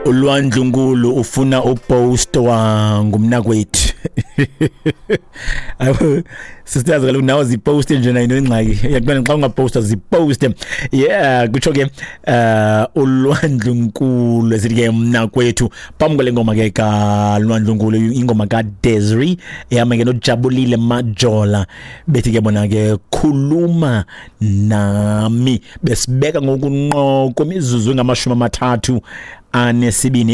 Ulwandlunkulu ufuna upostwa ngumnakwethu. Sisters, kaloku nawe ziposte nje, nayo ingxaki uyaqonda xa ungaposta ziposte. Yeah, kutsho ke ulwandlunkulu esithi ke mnakwethu phambi kwale ngoma ke kalwandlunkulu, ingoma kaDesiree ehamba ke noJabulile Majola, bethi ke bona ke "Khuluma Nami". Besibeka ngokunqo kwemizuzu engamashumi 32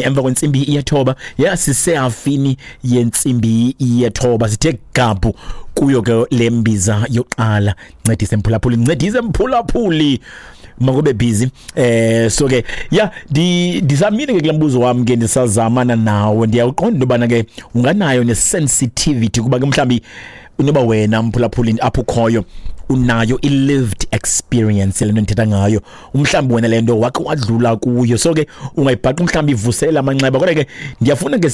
emva kwentsimbi yethoba. Ya, sisehafini yentsimbi yethoba, sithe gabhu kuyo ke le mbiza yokuqala. Ncedise mphulaphuli, ncedise mphulaphuli, makube busy. So ke ya, ndisamile ke kule mbuzo wami ke, ndisazamana nawo. Ndiyawuqonda into yobana ke unganayo ne-sensitivity, kuba ke mhlawumbi unoba wena mphulaphuli apho ukhoyo unayo i-lived experience le nto ndithetha ngayo, umhlawumbi wena le nto wakhe wadlula kuyo, so ke ungayibhaqa mhlawumbi ivuselela amanxeba. Kodwa ke ndiyafuna ke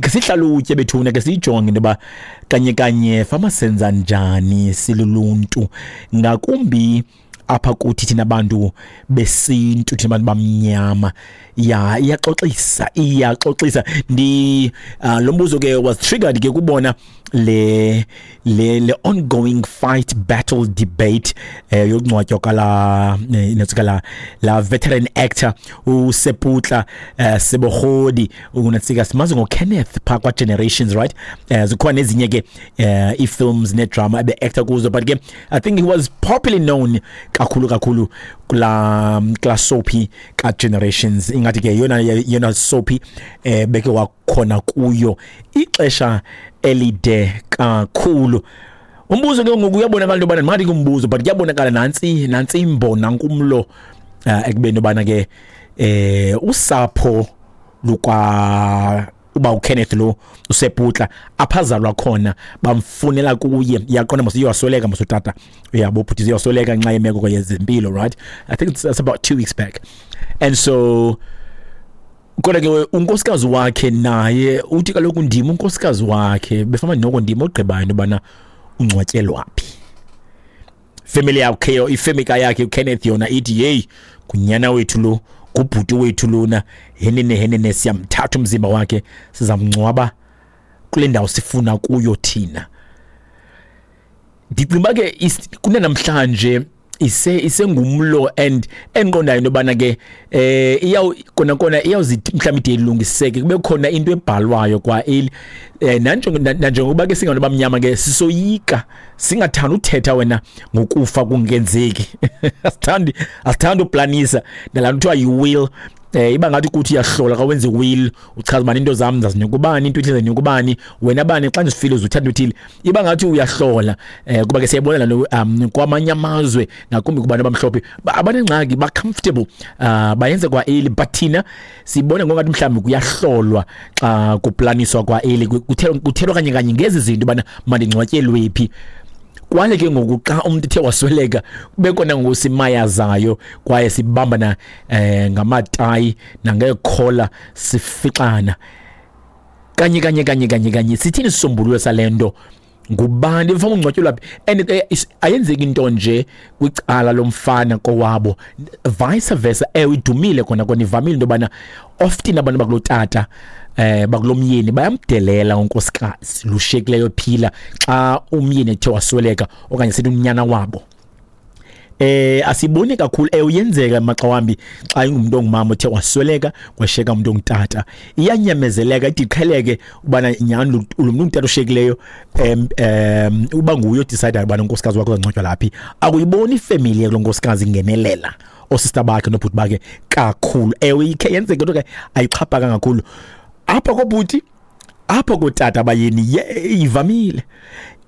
ke sihlalutye bethuna, ke siyijonge into yoba kanye kanye fama senza njani siluluntu, ngakumbi apha kuthi thina bantu besintu, thina bantu bamnyama. Ya, iyaxoxisa, iyaxoxisa. Ndi lo mbuzo ke was triggered ke kubona le ongoing fight, battle, debate yokungcwatywa kala natsika la veteran actor uSeputla Sebogodi. Unatsika simazi ngoKenneth pha kwa Generations, right? Zikhona ezinye ke i-films ne-drama ebe actor kuzo, but ke I think he was popularly known kakhulu kakhulu kula soapie ka Generations. Ingathi ke yona yona soapie beke wakhona kuyo ixesha elide kakhulu. Umbuzo ke ngoku, uyabonakala into yobana ngathi kumbuzo, but kuyabonakala nantsi imbona nkumlo ekubeni yobana ke usapho lukwa uba uKenneth lo uSeputla aphazalwa khona bamfunela kuye. Iyaqonda mos, iyasweleka mos utata, uyabo bhuti, iyasweleka ngenxa yemeko yezempilo, right? I think it's about 2 weeks back. And so kodwa ke unkosikazi wakhe naye uthi kaloku ndim unkosikazi wakhe, befama noko ndim ogqibayo into yobana ungcwatyelwa phi. Family yakhe, ifamily yakhe uKenneth yona ithi, "Hey, ngunyana wethu lo, ngubhuti wethu lona, henene henene, siyamthatha umzimba wakhe, sizamngcwaba kule ndawo sifuna kuyo thina." Ndicinga ke kunanamhlanje isengumlo and endiqondayo into yobana ke iyaw kona kona iyawuzithi mhlawumbi ide ilungiseke, kube khona into ebhalwayo kwa eli nanjengokuba ke singabantu bamnyama ke sisoyika, singathanda uthetha wena ngokufa kungenzeki, asithandi uplanisa nalaa nto kuthiwa yi-will. Iba ngathi kuthi uyahlola xa wenza i-will, uchaza ubani into zam zazinika ubani, into ethile zinika ubani, wena bani xa ndisifile uzuthatha uthile, iba ngathi uyahlola. Kuba ke siyayibona laa nto kwamanye amazwe, ngakumbi kubantu abamhlophe, abanengxaki, ba-comfortable bayenze kwa-eli, but thina sibona ngongathi mhlawumbi kuyahlolwa xa kuplaniswa kwa-eli, kuthelwa kanye kanye ngezi zinto ubana mandingcwatyelwe phi. Kwale ke ngoku xa umuntu ethe wasweleka kube khona ngoku simayazayo kwaye sibambana ngamatayi nangeekhola, sifixana kanye kanye kanye kanye kanye. Sithini isisombululo sale nto? Ngubani mfana ungcwatyelwa phi? And ke ayenzeki into nje kwicala lomfana kowabo, vice versa. Ewe, idumile kona kona, ivamile into yobana often abantu bakulotata bakulomyeni bayamdelela unkosikazi lushekileyo phila xa umyeni ethe wasweleka, okanye sithi unyana wabo. Asiboni kakhulu, uyenzeka maxa wambi xa ingumuntu ongumama othe wasweleka kwashiyeka umuntu ongutata, iyanyamezeleka ide iqheleke ubana nyhani lo muntu ongutata oshiyekileyo em em uba nguye odecide ubana unkosikazi wakhe uzangcwatywa laphi. Akuyiboni ifamily yakulo nkosikazi ingenelela, oosista bakhe nobhuti bakhe kakhulu. Ewe, ikhe yenzeke, kodwa ke ayixhaphaka kakhulu apha kobhuti. Apha kootata bayeni ye ivamile,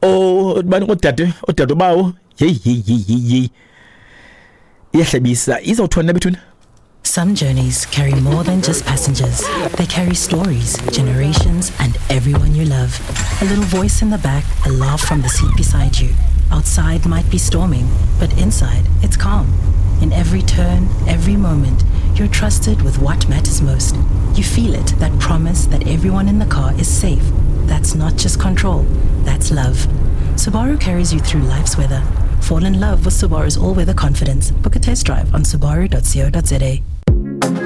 o bani oodade, oodade bawo, yeyi yeyi yeyi yeyi yeyi, iyahlebisa. Izawuthona bethuna. Some journeys carry more than just passengers. They carry stories, generations, and everyone you love. A little voice in the back, a laugh from the seat beside you. Outside might be storming, but inside it's calm. In every turn, every moment, you're trusted with what matters most. You feel it, that promise that everyone in the car is safe. That's not just control, that's love. Subaru carries you through life's weather. Fall in love with Subaru's all weather confidence. Book a test drive on subaru.co.za.